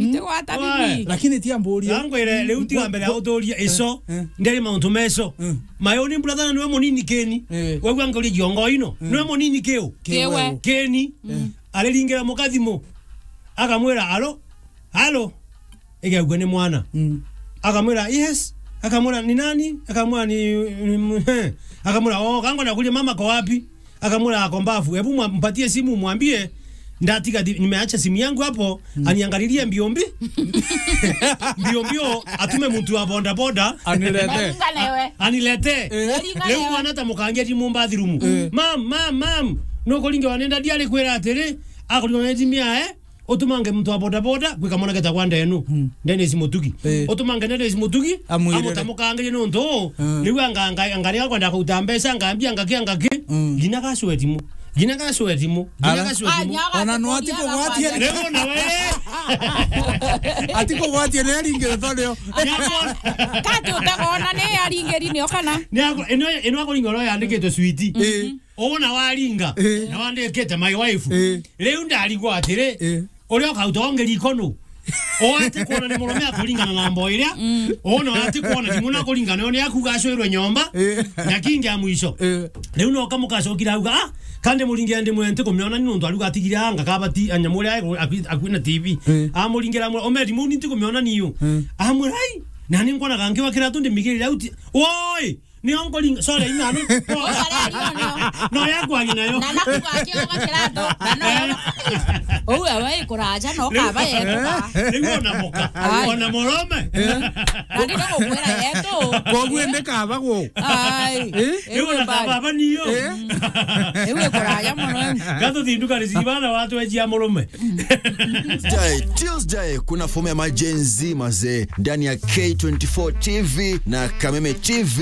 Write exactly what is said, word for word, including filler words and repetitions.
Ndigwata bibi. Lakini tia mburia. Ngwire, riu tiga mbere ya uturia ico. Eh. Nderi mauntu meco. Mm. Mayo ni brother niwe munini keni. Eh. Wegua ngori jongo ino. Mm. Niwe munini kiu. Kiwe. Keni. Mm. Ariringira muka thimu. Akamwira, "Alo? Alo?" Igaigua ni mwana. Mm. Akamwira, "Yes." Akamwira, "Ni nani?" Akamwira, "Ni, ni, he." Akamwira, "Oh, kango nakuria mama ko wapi?" Akamwira, "Ako mbafu. Hebu mwa-, mpatie simu, mwambie ndatiga thi-, nimeacha simu yangu hapo, mm, aniangalilie mbio mbi-, mbio mbio, atume mtu wa boda boda." Anilete. Anilete. Eh. Riu mwana ta mukangia thimu bathroom. Eh. "Mam, mam, mam. Nukuringa wanenda diari kwira atiri, akuringa wanenda mia, eh? Utumange muntu wa boda boda, gwika mwana geta kwa ndenu." Mm. Dennis Mutugi. Eh. Utumange Dennis Mutugi, amwirire. Amutamukangirie nuntu. Mm. Riu anga-, anga-, angari akwenda kuruta mbeca, ngambia ngaki, ngaki. Mm. Ngina gacwe thimu. Ngina gacwe thimu. Ngina gacwe thimu. Ona no atikugwatia. Riu ona we. Atikugwatia ni aringire torio. Kati utegona ni aringiri nio kana? Ni ako, ino, ino akuringa oro yandikitwe switi. Eh. Ona waringa, eh, na wandikite my wife. Eh. Riu ndarigwa atiri, eh, uria ukauta onge riko nu? Oete kuona ni murume akuringana na mbo iria. Mm. Ona ati kuona thimu na kuringana yo ni akuga acwirwe nyomba. Eh. Na kingi ya mwisho. Eh. Riu no kamukacokira auga, "Ah, kandi muringira ndi mwenti kumiona ni nuntu aruga atigire anga kabati anyamu uria aku-, akwi-, akwina T V." Eh. Amuringira amwe, "Omeri mu ni ntikumiona niu." Eh. Amwira, "Ai, na ni nkwonaga nkiwa kiratu ndimigirire au ti-, woi!" Ni onkoringa, sorry, ina no. Okareri onio. No ya kwa ngina yo. Na nakuga kioga kirato. Na no. Ou ewe ikuraja no kaba yetu. Riu ona muka. Ai. Ona murume. Na ni no gukwira yetu. Koguo ndi kaba gu. Ai. Eh? Riu ona kaba baba niyo. Eh? Riu ikuraja muno. Gato thinduka ni cibana watu ejia murume. Tuesday, Tuesday, kuna fomu ya majenzi mazee ndani ya K twenty-four T V na Kameme T V.